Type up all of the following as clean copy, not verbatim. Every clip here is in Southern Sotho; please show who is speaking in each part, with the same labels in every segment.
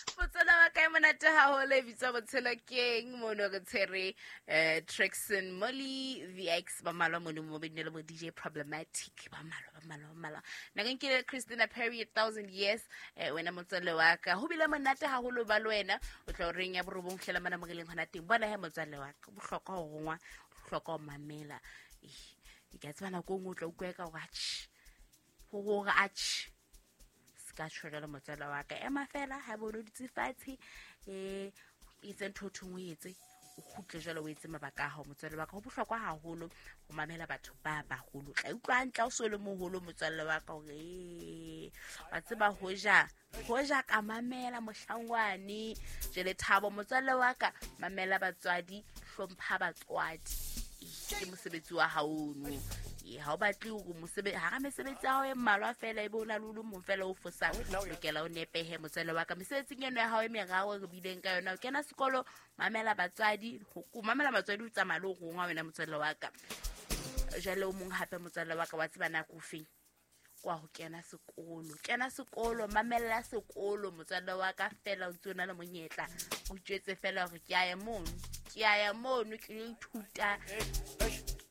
Speaker 1: Motswala wa ka e monate haholo e bitswa Botshelo Keng. Mono re tshwere Trixon Molly VX ba mmalwa mono mo benne le bo DJ Problematic ba mmalwa ba mmalwa ba mmalwa. Nna ke nkile Christina Perry, A Thousand Years. Wena motswalle wa ka, ho bile monate haholo ba le wena. O tla o reng ya borobong hlela mona mo re leng hona teng. Bona he motswalle wa ka, bohlokwa ho rongwa, bohlokwa ho mamela. Ke a tseba nako e nngwe o tla utlwa eka hore atjhe, hore atjhe, se ka tjho jwalo motswala wa ka. Ema fela ha bo o dutse fatshe, etse ntho o thong o etse, o kgutle jwale o etse mabaka a hao motswalle wa ka. Ho bohlokwa haholo ho mamela batho ba baholo. Tla utlwa hantle ha o so le moholo motswalle wa ka hore wa tseba hoja hoja ka mamela mohlangwane. Jwale Thabo motswalle wa ka, mamela batswadi, hlompha batswadi, ke mosebetsi wa hao ono. Ha o batle hore hara mesebetsi ya hao e mmalwa fela ebe o na le o le mong fela o fosang, lokela o nepehe motswalle wa ka. Mesebetsing eno ya hao e meraro re bileng ka yona, o kena sekolo, mamela batswadi, ho mamela batswadi o tsamaya le o rongwa wena motswalle wa ka. Jwale o mong hape motswalle wa ka, wa tseba nako ofeng kwa ho kena sekolo, kena sekolo, mamella sekolo motswalle wa ka fela o ntse o na le monyetla, o itjwetse fela hore ke a ya mono, ke a ya mono, ke lo ithuta.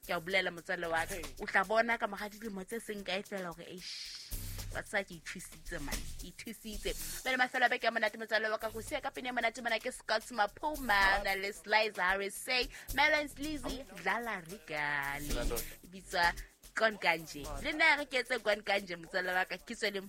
Speaker 1: Ke a o bolela motswalle wa ka, o tla bona ka mora dilemo tse seng kae fela hore eish, wa tseba ke ithusitse man, ke ithusitse. Pele mafelo a beke a monate motswalle wa ka, go siya ka pene ya monate mona ke Scott Maphuma na le Slice Harris Say Melons Lizzy Dlala Regali e bitswa Gone Kanje. Le nna re ke etse Gone Kanje motswalle wa ka, ke tswele.